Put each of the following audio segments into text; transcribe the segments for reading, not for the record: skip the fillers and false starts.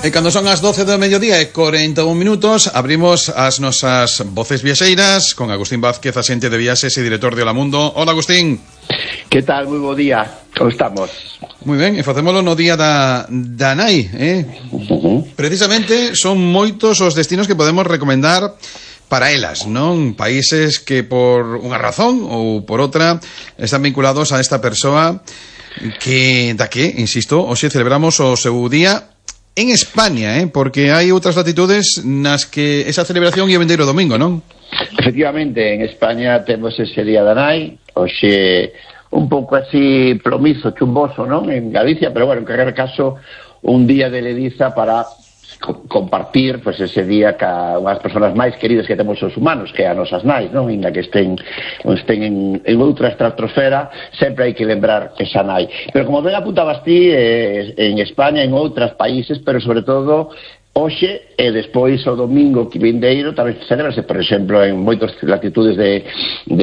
E cando son as 12 do mediodía e 41 minutos, abrimos as nosas voces viaxeiras con Agustín Vázquez, axente de viaxes e director de Hola Mundo. Hola, Agustín. Que tal? Moi bo día. Como estamos? Moi ben, e facémolo no día da nai, Precisamente son moitos os destinos que podemos recomendar para elas, non? Países que por unha razón ou por outra están vinculados a esta persoa que, insisto, hoxe celebramos o seu día en España, porque hai outras latitudes nas que esa celebración ia vendeiro domingo, non? Efectivamente, en España temos ese día da nai, hoxe un pouco así plomizo, chumboso, non? En Galicia, pero bueno, en calquer caso, un día de lediza para compartir pues ese día ca unhas persoas máis queridas que temos os humanos, que a nosas nais, non? Inda que estén en outra estratosfera, sempre hai que lembrar esa nai. Pero como ben apuntabas ti, en España, en outros países, pero sobre todo hoxe e despois o domingo que vindeiro tamén celebrase, por exemplo, en moitas latitudes de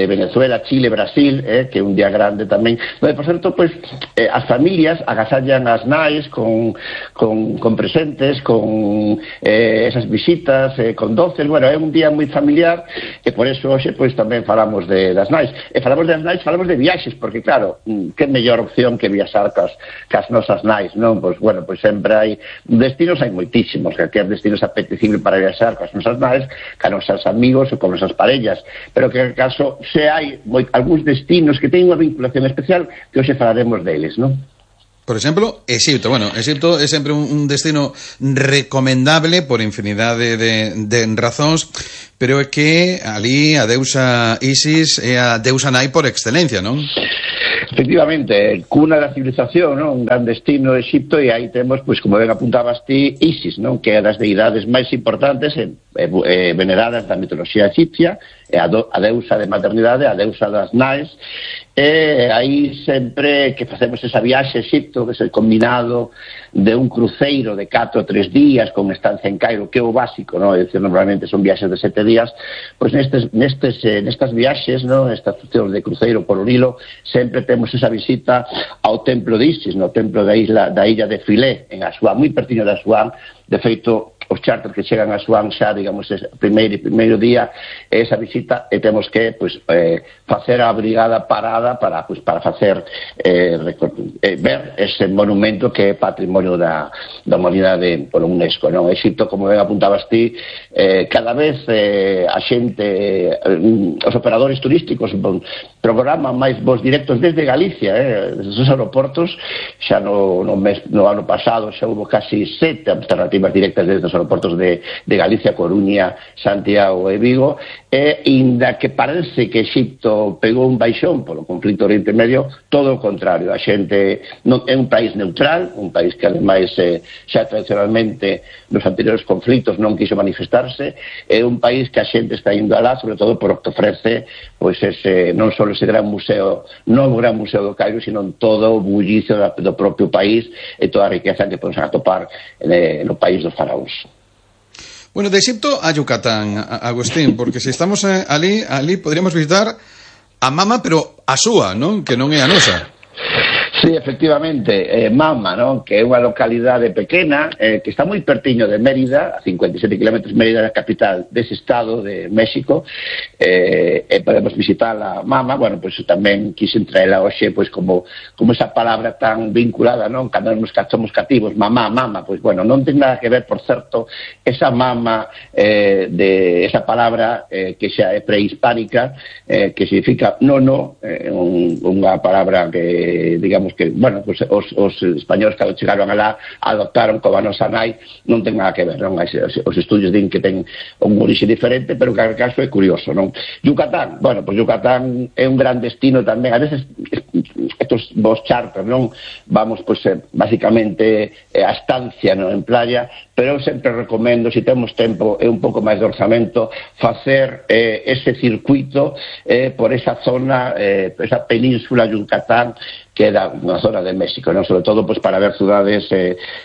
Venezuela, Chile, Brasil, que é un día grande tamén, donde, por certo, pues, as familias agasallan as nais con presentes, con esas visitas, con doces. Bueno, é un día moi familiar e por eso hoxe pues, tamén falamos das nais. E falamos das nais, falamos de viaxes, porque claro, que mellor opción que viaxar cas nosas nais, non? Pues bueno, pues sempre hai destinos, hai moitísimos, que é destinos apetecible para viaxar coas nosas nais, ca nosos amigos ou con nosas parellas, pero que en caso se hai algúns destinos que teñen unha vinculación especial que hoxe falaremos deles, non? Por exemplo, Exipto. Bueno, Exipto é sempre un destino recomendable por infinidade de razóns, pero é que ali a deusa Isis é a deusa nai por excelencia, non? Efectivamente, cuna da civilización, non? Un gran destino de Exipto, e aí temos, pois, como ben apuntabas ti, Isis, non? Que é das deidades máis importantes veneradas da mitoloxía egipcia, é a deusa de maternidade, a deusa das nais, e aí sempre que facemos esa viaxe a Exipto, que é o combinado de un cruceiro de 4 ou 3 días con estancia en Cairo, que é o básico, non? É dicir, normalmente son viaxes de 7 días, pois nestas viaxes, non? Estas funcións de cruceiro por o Nilo, sempre temos esa visita ao templo de Isis, no templo da illa de Filé, en Asuán, moi pertiño de Asuán. De feito, os charters que chegan a Asuán xa, digamos, primeiro día esa visita, e temos que facer a brigada parada para facer ver ese monumento que é patrimonio da humanidade por UNESCO, non? Exipto, como ben apuntabas ti, cada vez a xente, os operadores turísticos programan máis voos directos desde Galicia, desde os aeroportos. Xa no ano pasado xa hubo casi 7 alternativas directas desde os aeroportos de Galicia, Coruña, Santiago e Vigo, e inda que parece que Exipto pegou un baixón polo conflito Oriente Medio, todo o contrario. A xente non é un país neutral, un país que ademais xa tradicionalmente nos anteriores conflitos non quiso manifestarse, é un país que a xente está indo alá, sobre todo por que ofrece pois ese, non só ese gran museo, non o gran museo do Cairo, sino todo o bullicio do propio país e toda a riqueza que podemos atopar no país dos faraóns. Bueno, de Egipto a Yucatán, Agustín, porque se estamos ali podríamos visitar a Mama, pero a súa, non? Que non é a nosa. Sí, efectivamente, Mama, non? Que é unha localidade pequena que está moi pertiño de Mérida, a 57 km Mérida, a capital dese estado de México, e podemos visitar a Mama. Bueno, pois tamén quixen traela hoxe, pois como esa palabra tan vinculada, non? Cando nos somos cativos, mamá, pois bueno, non ten nada que ver, por certo, esa Mama de esa palabra que xa é prehispánica, que significa nono, unha palabra que, digamos, que, bueno, pues, os españoles que chegaron alá adoptaron como a nosa nai, non ten nada que ver, non? Os estudios din que ten un orixe diferente, pero que en caso é curioso, non? Yucatán, bueno, pues Yucatán é un gran destino tamén. A veces estos vos charters, non? Vamos, pues, basicamente a estancia, non? En playa, pero eu sempre recomendo, se temos tempo e un pouco máis de orzamento, facer ese circuito por esa zona, esa península Yucatán, que é unha zona de México, non? Sobre todo pues, para ver cidades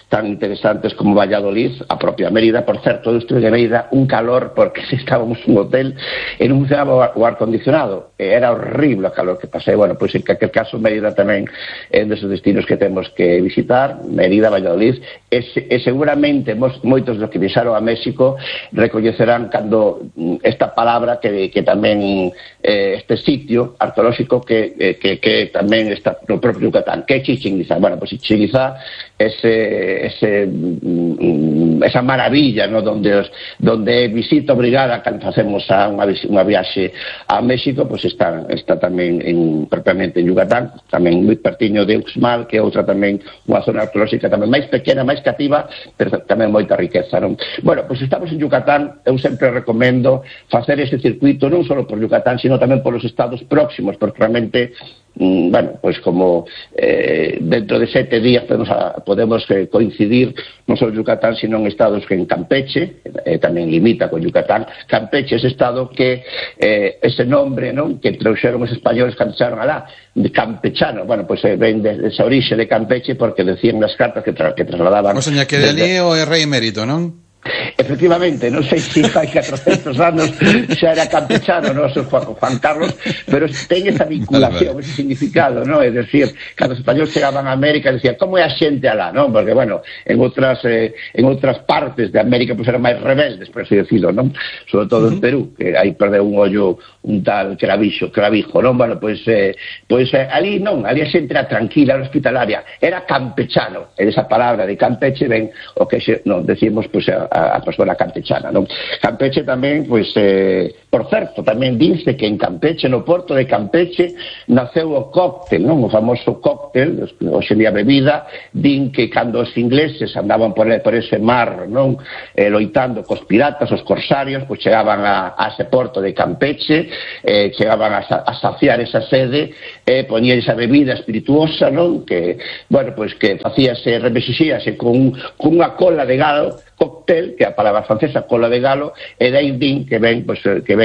tan interesantes como Valladolid, a propia Mérida. Por certo, eu estuve en Mérida un calor porque estábamos un hotel e non funcionaba o acondicionado, era horrible o calor que pasei. Bueno, pois en calquer caso Mérida tamén é un deses destinos que temos que visitar, Mérida, Valladolid, e seguramente moitos dos que viaxaron a México recoñecerán cando esta palabra que tamén este sitio arqueolóxico que tamén está no propio Yucatán, que é Chichén Itzá. Bueno, pues Chichén Itzá esa maravilla, ¿no? donde visita obrigada cando facemos unha viaxe a México, pues está tamén propiamente en Yucatán, tamén moi pertiño de Uxmal, que é outra tamén unha zona arqueolóxica tamén máis pequena, máis cativa, pero tamén moita riqueza, non? Bueno, pues estamos en Yucatán. Eu sempre recomendo facer ese circuito non só por Yucatán, sino tamén por os estados próximos, porque realmente bueno, pues como dentro de 7 días podemos coincidir non só en Yucatán, sino en estados que en Campeche, tamén limita con Yucatán. Campeche é ese estado que ese nombre, non, que trouxeron os españoles cando chegaron alá, de campechano, bueno, pues ven de esa orixe de Campeche porque decían nas cartas que trasladaban. O seña que de ali o é rei emérito, non? Efectivamente, non sei se hai 400 anos xa era campechano, non, Juan Carlos, pero ten esa vinculación, ese significado, non? É dicir, cando os españoles chegaban a América decían, como é a xente alá, non? Porque, bueno, en outras partes de América pues eran máis rebeldes, por así decirlo, non? Sobre todo en Perú, que aí perdeu un ollo un tal clavijo, non? Bueno, pues ali non, ali a xente era tranquila, era hospitalaria, era campechano, e esa palabra de Campeche ven o que non decimos, pues a persona campechana, non? Campeche tamén, pois, por certo, tamén dice que en Campeche, no porto de Campeche, naceu o cóctel, non? O famoso cóctel, hoxe día bebida, din que cando os ingleses andaban por ese mar, non? Loitando cos piratas, os corsarios, pois chegaban a ese porto de Campeche, chegaban a saciar esa sede, poñían esa bebida espirituosa, non? Que, bueno, pois que facíase, remexixíase con unha cola de galo, cóctel, que é a palabra francesa, cola de galo, e dai din que ven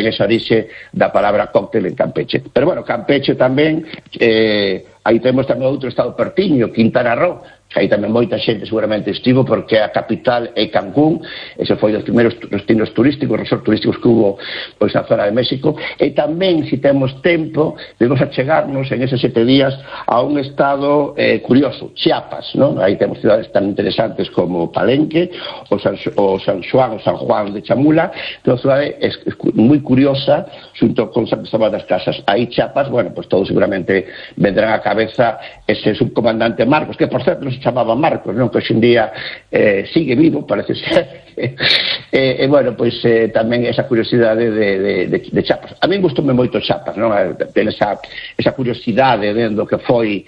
esa orixe da palabra cóctel en Campeche. Pero bueno, Campeche tamén, aí temos tamén outro estado pertiño, Quintana Roo, que aí tamén moita xente seguramente estivo porque a capital é Cancún, ese foi dos primeiros destinos turísticos, resort turísticos que hubo pois na zona de México, e tamén, se temos tempo, debemos achegarnos en eses 7 días a un estado curioso, Chiapas, non? Aí temos cidades tan interesantes como Palenque, o San Juan de Chamula, que é unha cidade moi curiosa, xunto con San Cristóbal das Casas. Aí Chiapas, bueno, pues todos seguramente vendrán a cabeza ese subcomandante Marcos, que por certo non se chamaba Marcos, non? Que hoxe en día sigue vivo, parece ser. E bueno, pois tamén esa curiosidade de Chiapas. A mí gustoume moito Chiapas, non? Ten esa curiosidade do que foi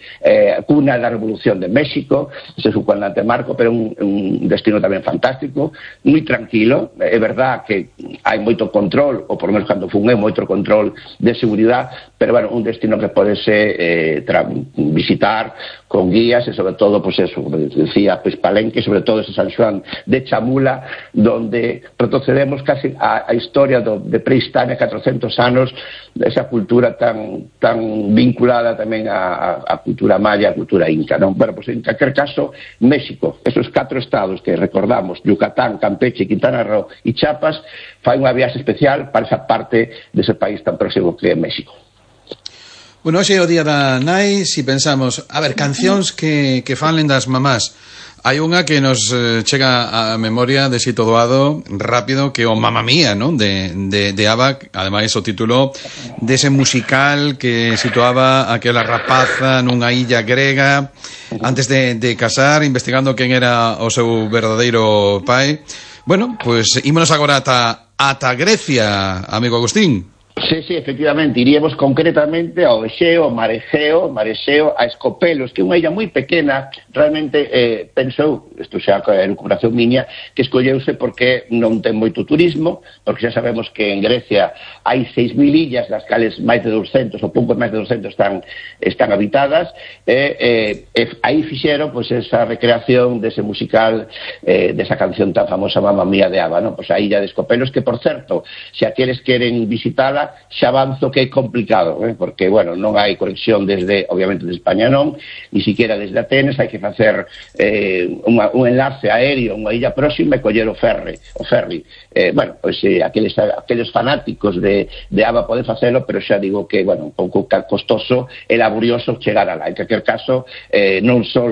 cuna da Revolución de México, ese subcomandante Marcos, pero un destino tamén fantástico, moi tranquilo. É verdad que hai moito control, ou por menos cando fun moito control de seguridade, pero bueno, un destino que podese visitar con guías, e sobre todo, pues eso, como decía, pues Palenque, sobre todo ese San Juan de Chamula, donde retrocedemos casi a historia de prehistoria, 400 anos, esa cultura tan vinculada tamén a cultura maya, a cultura inca, non? Bueno, pues en calquer caso, México, esos 4 estados que recordamos, Yucatán, Campeche, Quintana Roo e Chiapas, fai unha viaxe especial para esa parte dese país tan próximo que é México. Bueno, hoxe é o día da nai. Si pensamos, a ver, cancións que falen das mamás, hai unha que nos chega a memoria de Xito Doado rápido, que é o Mamma Mía, non? De ABBA, ademais o título dese musical que situaba aquela rapaza nunha illa grega antes de casar, investigando quen era o seu verdadeiro pai. Bueno, pois ímonos agora ata Grecia, amigo Agustín. Sí, efectivamente, iríamos concretamente ao Exeo, Marexeo, a Escopelos, que é unha illa moi pequena, realmente pensou, isto xa é a recuperación miña, que escolleuse porque non ten moito turismo, porque xa sabemos que en Grecia hai 6.000 illas, das cales máis de 200, ou pouco máis de 200 están habitadas, e aí fixeron pues, esa recreación dese musical, desa canción tan famosa Mamma Mía de ABBA, ¿no? Pues a illa de Escopelos, que por certo, se aqueles queren visitala, xa avanzo que é complicado, porque, bueno, non hai conexión desde, obviamente, de España non, ni siquiera desde Atenas, hai que facer un enlace aéreo, unha illa próxima e coller o ferry. Bueno, pois aqueles fanáticos de ABA poden facelo, pero xa digo que, bueno, un pouco costoso e laborioso chegar alá. En calquer caso, non só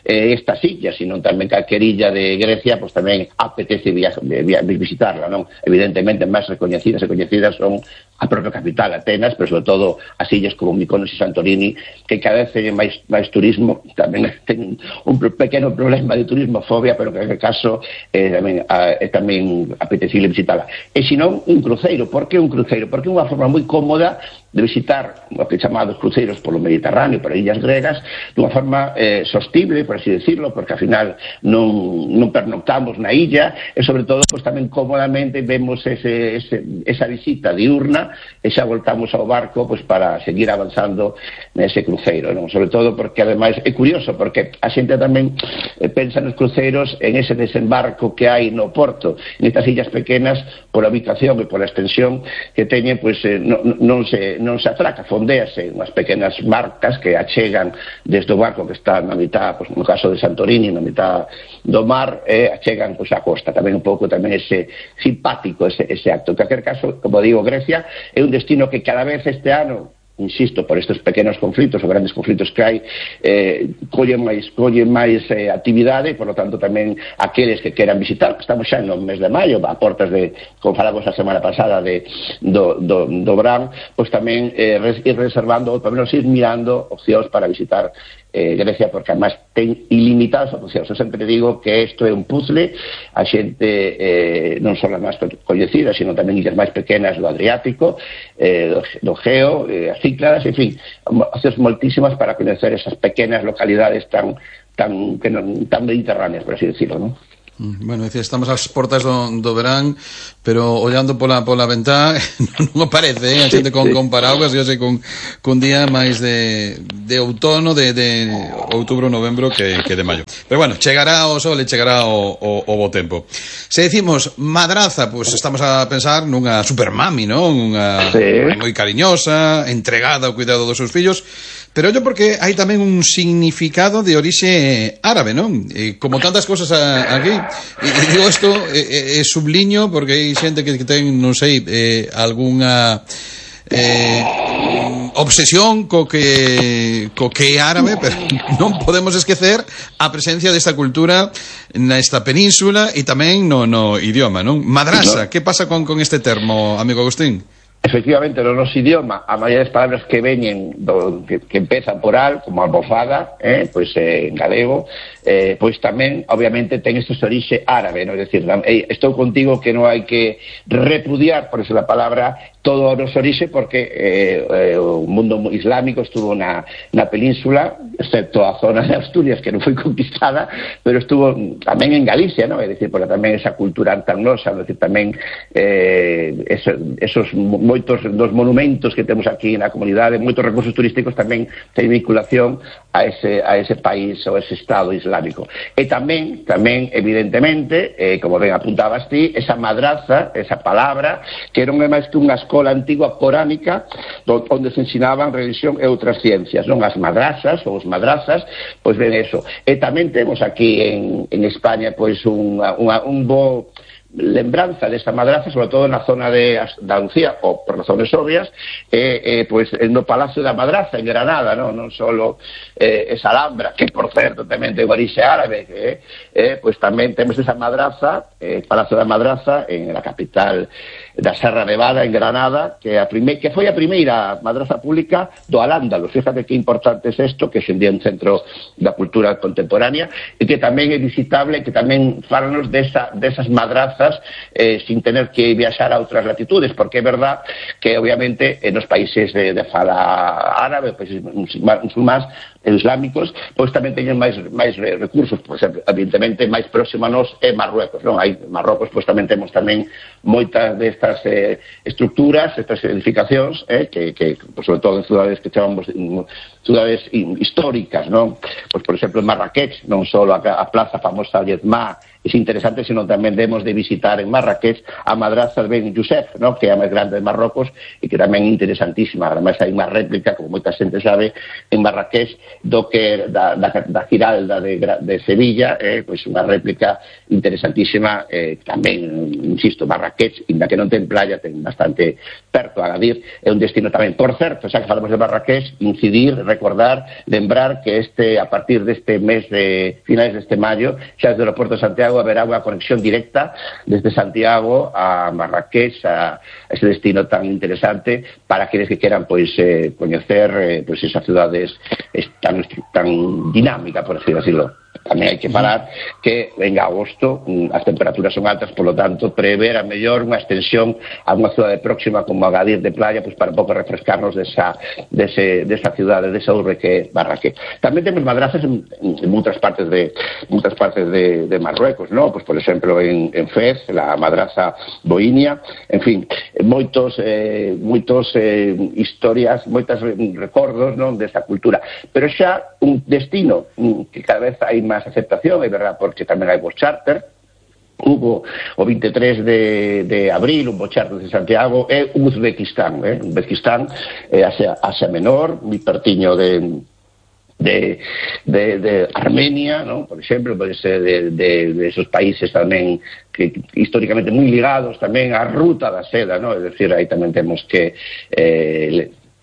estas illas, sino tamén calquer illa de Grecia, pois tamén apetece visitarla, non? Evidentemente, máis recoñecidas e coñecidas son a propia capital, Atenas, pero sobre todo as illas como Mykonos e Santorini, que cada vez teñen máis turismo, tamén ten un pequeno problema de turismofobia, pero que en caso é tamén apetecible visitarla. E senón un cruceiro. Por que un cruceiro? Porque é unha forma moi cómoda de visitar o que chamados cruceiros polo Mediterráneo, por illas gregas, dunha forma sostible, por así decirlo, porque ao final non pernoctamos na illa, e sobre todo pues, tamén cómodamente vemos esa visita diurna e xa voltamos ao barco pues, para seguir avanzando nese cruceiro, non? Sobre todo porque ademais é curioso, porque a xente tamén pensa nos cruceiros en ese desembarco que hai no porto, nestas illas pequenas, pola ubicación e pola extensión que teñen, pues, non se atraca, fondéase unhas pequenas barcas que achegan desde o barco que está na mitad, pues, no caso de Santorini, na mitad do mar, achegan pues, a costa. Tamén un pouco tamén ese simpático ese acto. En calquer caso, como digo, Grecia é un destino que cada vez este ano, insisto, por estes pequenos conflitos ou grandes conflitos que hai, colle máis actividade, e, por lo tanto, tamén aqueles que queran visitar, que estamos xa no mes de maio, a portas de, como falamos a semana pasada, do verán, pois tamén ir reservando, ou pelo menos ir mirando opcións para visitar Grecia, porque además ten ilimitadas opcións. Eu sempre digo que isto é un puzzle, a xente non só as máis coñecidas, sino tamén illas máis pequenas do Adriático, do Geo, as Cícladas, en fin, opcións moltísimas para coñecer esas pequenas localidades tan mediterráneas, por así decirlo, non? Bueno, decía, estamos ás portas do verán, pero ollando pola ventá non parece, a xente con paraguas, eu sei con día máis de outono, de outubro, novembro que de maio. Pero bueno, chegará o sol e chegará o bo tempo. Se decimos madraza, pues estamos a pensar nunha supermami, non? Unha moi cariñosa, entregada ao cuidado dos seus fillos. Pero ollo porque hai tamén un significado de orixe árabe, non? Como tantas cousas aquí. E digo isto, subliño, porque hai xente que ten, non sei, algunha obsesión co que é árabe, pero non podemos esquecer a presencia desta cultura nesta península e tamén no idioma, non? Madrasa, que pasa con este termo, amigo Agustín? Efectivamente, no noso idioma, a maioría das palabras que veñen que empezan por al, como almofada, pois en galego, pois tamén, obviamente, ten esta orixe árabe, non? É dicir, estou contigo que non hai que repudiar, por eso a palabra, todo o noso orixe, porque o mundo islámico estuvo na península, excepto a zona de Asturias, que non foi conquistada, pero estuvo tamén en Galicia, non? É dicir, porque tamén esa cultura antagnosa, é dicir, tamén esos moitos dos monumentos que temos aquí na comunidade, moitos recursos turísticos tamén ten vinculación a ese país ou ese estado islámico. E tamén evidentemente, como ben apuntabas ti, esa madraza, esa palabra, que non é máis que unha escola antigua coránica onde se ensinaban religión e outras ciencias, non? As madrazas ou os madrazas, pois ben eso. E tamén temos aquí en España pois un bo lembranza desta madraza, sobre todo na zona de Andalucía, ou por razones obvias, pois no Palacio da Madraza en Granada, non solo esa Alhambra, que por certo tamén ten orixe árabe, pois tamén temos esa madraza, Palacio da Madraza en la capital da Serra Nevada en Granada, que foi a primeira madraza pública do Al-Ándalus. Fíjate que importante é isto, que é un centro da cultura contemporánea e que tamén é visitable, que tamén falanos desas madrazas sin tener que viaxar a outras latitudes, porque é verdad que obviamente nos países de fala árabe, países musulmáns islámicos, pois tamén teñen máis recursos. Por exemplo, evidentemente máis próximo a nos é Marruecos, non? Hai Marrocos, pois tamén temos tamén moitas destas estructuras, estas edificacións, que sobre todo en cidades que chamamos cidades históricas, non? Pois, por exemplo, en Marrakech, non só a plaza famosa Yedmá interesante, senón tamén demos de visitar en Marrakech a madraza de Ben Youssef, ¿no? Que é a máis grande de Marrocos e que tamén é interesantísima. Ademais hai unha réplica, como moita xente sabe, en Marrakech do que da Giralda de Sevilla, pois unha réplica interesantísima, tamén, insisto, Marrakech, inda que non ten playa, ten bastante perto a Agadir, é un destino tamén. Por certo, xa que falamos de Marrakech, incidir, recordar, lembrar que a partir deste mes de finais deste maio, xa desde o aeroporto de Santiago haberá unha conexión directa desde Santiago a Marrakech, a ese destino tan interesante para aqueles que queran pois coñecer pois esa cidade tan dinámica, por así decirlo. Tamén hai que falar que en agosto as temperaturas son altas, polo tanto prever a mellor unha extensión a unha cidade próxima como Agadir de playa, pois para un pouco refrescarnos desa cidade, desa urbe que é Marrakech. Tamén temos madrazas en moitas partes de Marruecos, ¿no? Pois por exemplo en Fez, la madraza boinia, en fin, moitos historias, moitos recordos, non, desa cultura. Pero xa un destino que cada vez hai máis aceptación, é verdad, porque tamén hai voos charter. Hubo o 23 de abril un voo charter de Santiago, é Uzbekistán, Uzbekistán, Asia Menor, moi pertiño de Armenia, ¿no? Por exemplo, pode ser de esos países tamén que históricamente moi ligados tamén á ruta da seda, ¿no? É dicir, aí tamén temos que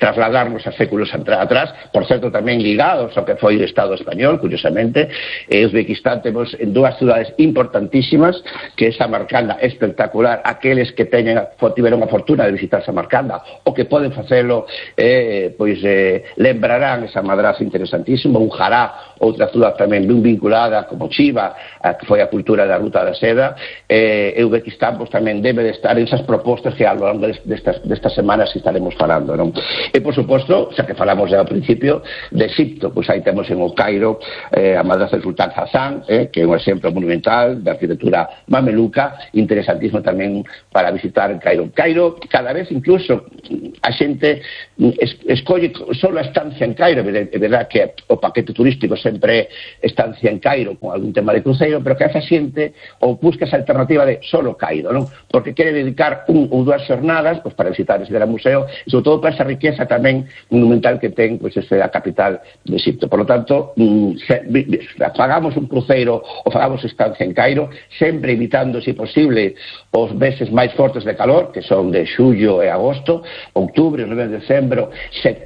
trasladarnos a séculos atrás, por certo tamén ligados ao que foi o Estado español, curiosamente. Uzbekistán temos en dúas cidades importantísimas, que é Samarcanda, espectacular, aqueles que tiveron a fortuna de visitar Samarcanda, o que poden facelo, lembrarán esa madraza interesantísima. Ujará, outra cidade tamén ben vinculada, como Chiva, que foi a cultura da ruta da seda. Uzbekistán tamén debe de estar en esas propostas que ao longo destas semanas estaremos falando, non? E, por suposto, xa que falamos ao principio de Egipto, pois aí temos en o Cairo a madraza del Sultán Hassan, que é un exemplo monumental de arquitectura mameluca, interesantísimo tamén para visitar en Cairo. Cairo, cada vez incluso a xente escolle só a estancia en Cairo. É verdad que o paquete turístico sempre é estancia en Cairo con algún tema de cruceiro, pero que esa xente ou busca esa alternativa de solo Cairo, non? Porque quere dedicar un ou dúas xornadas pois para visitar ese gran museo e sobre todo para esa riqueza tamén monumental que ten pois a capital de Egipto. Por lo tanto, pagamos un cruceiro ou pagamos estancia en Cairo, sempre evitando, se posible, os meses máis fortes de calor, que son de xullo e agosto, outubro, novembro, decembro,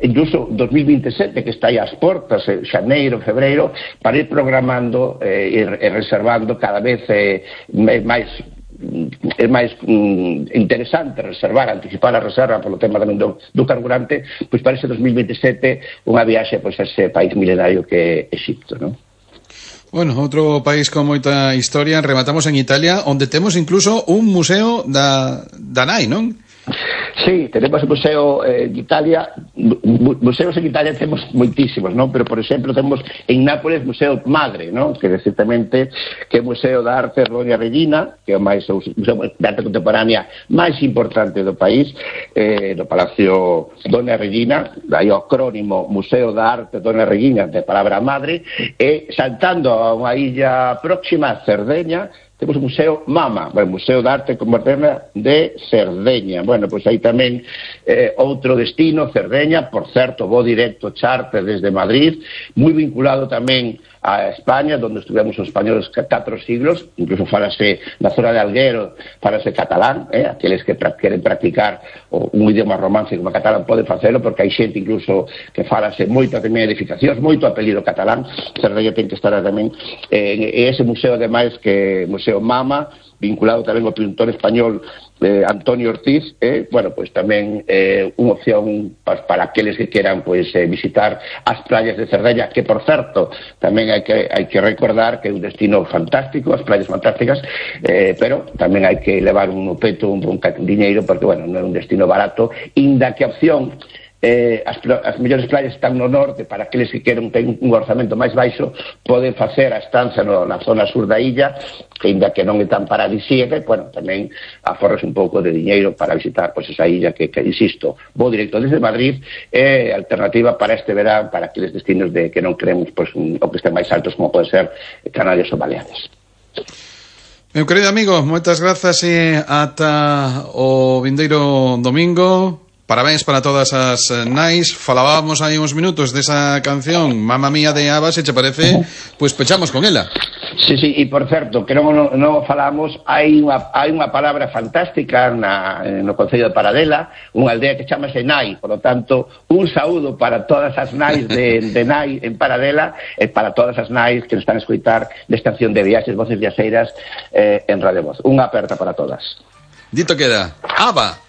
incluso 2027, que está aí ás portas, xaneiro, febreiro, para ir programando e reservando cada vez máis. É máis interesante anticipar a reserva polo tema tamén do carburante, pois para ese 2027 unha viaxe pois a ese país milenario que é Egipto, non? Bueno, outro país con moita historia. Rematamos en Italia, onde temos incluso un museo da nai, non? Sí, tenemos un museo en Italia. Museos en Italia temos moitísimos, non? Pero, por exemplo, temos en Nápoles Museo Madre, non? Que recentamente que é o Museo de Arte Doña Regina, que é o museo de arte contemporánea máis importante do país, do Palacio Doña Regina, aí o acrónimo Museo de Arte Doña Regina, de palabra madre, e saltando a unha illa próxima, a Cerdeña, temos o Museo Mama, o Museo de Arte Moderna de Cerdeña. Bueno, pois aí tamén outro destino, Cerdeña, por certo, voo directo charter desde Madrid, moi vinculado tamén a España, donde estuvemos os españoles 4 siglos, incluso falase na zona de Alguero, falase catalán, aqueles que queren practicar un idioma romance como catalán poden facelo, porque hai xente incluso que falase moito tamén edificacións, moito apelido catalán. Cerdeña ten que estar tamén ese museo, ademais, que Museo Mama, vinculado tamén ao pintor español Antonio Ortiz, bueno, pois tamén unha opción para aqueles que queran pois visitar as playas de Cerdeña, que por certo tamén hai que recordar que é un destino fantástico, as playas fantásticas, pero tamén hai que levar un peto, un diñeiro, porque bueno, non é un destino barato, inda que a opción as mellores playas están no norte. Para aqueles que queren ter un orzamento máis baixo, poden facer a estancia na zona sur da illa, que ainda que non é tan paradisíaca, bueno, tamén aforras un pouco de diñeiro para visitar pois esa illa que insisto, vou directo desde Madrid, é alternativa para este verán, para aqueles destinos que non queremos pois, o que estén máis altos, como pode ser Canarias ou Baleares. Meu querido amigo, moitas grazas e ata o vindeiro domingo. Parabéns para todas as nais. Falábamos aí uns minutos desa canción Mamma Mía de ABBA, se che parece, pois pechamos con ela. Sí, sí, e por certo, que non falamos, hai unha palabra fantástica no Concello de Paradela, unha aldea que chamase Nai, por lo tanto, un saúdo para todas as nais de Nai en Paradela e para todas as nais que están a escoitar desta acción de Viaxes Voces Viaxeiras en Radio Voz. Unha aperta para todas. Dito queda, ABBA.